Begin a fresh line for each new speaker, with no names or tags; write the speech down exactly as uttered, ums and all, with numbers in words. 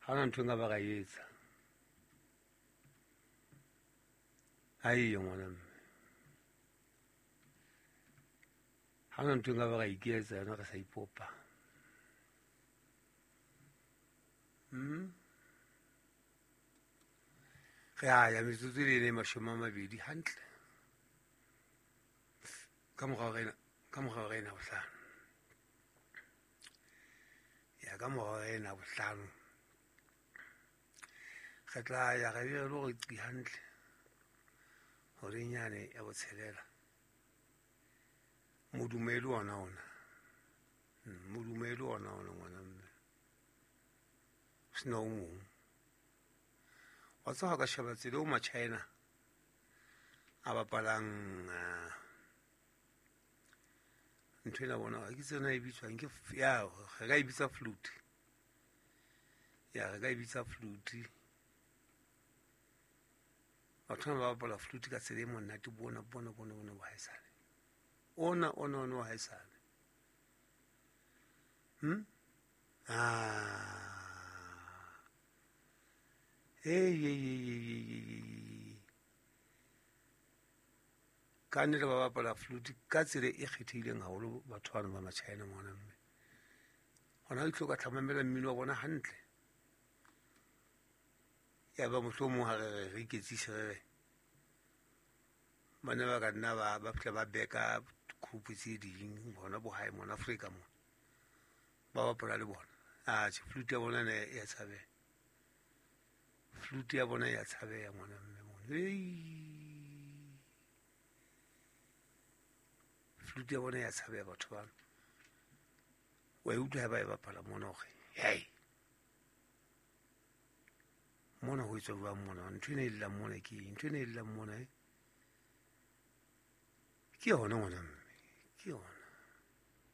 Ha hona ntho e nka ba ka e etsa. Ha eyo ngwana mme. Ha hona ntho e nka ba ka iketsa yona re sa ipopa. Hmm? Re a ya metsotso e le mashome a mabedi hantle. Ka morao re ena, ka morao re ena bohlano. Ya ka morao re ena bohlano. Re tla ya re be re lo re qi hantle. Horeng yane ya botshelela. Modumo e le ona ona. Modumo e le ona ona ngwana mme. Ho sena o mong. Wa tseba ha ka sheba tsela eo ma-China a bapalang ntho ena bona ha ke tsebe na e bitswang ke ya re ka e bitsa flute. Ya re ka e bitsa flute. Batho bana ba bapala flute ka tsela e monate bona bona bona bona bo haesale. Ona ona ona wa haesale. Hmm? Ah. Hey, hey, hey, hey, hey, hey. Ka nnete ba bapala flute ka tsela e kgethehileng haholo batho bana ba ma-China ngwana mme. Hona le tlo ka tla mmino wa bona hantle. Ya ba mohlomong ha re re re iketsise re re bana ba ka nna ba ba fihla ba beka group tse ding bona bo hae mona Afrika mona. Ba bapala le bona. Ah, flute ya bona ne ya tshabeha. Flute ya bona ya tshabeha ngwana mme mona. Hey. Flute ya bona ya tshabeha batho bana. Wa e utlwa ha ba e bapala mona hore hey. Mona ho etswa jwang mona? Ntho ena e llang mona ke eng? Ntho ena e llang mona e? Ke yona ngwana mme. Ke yona.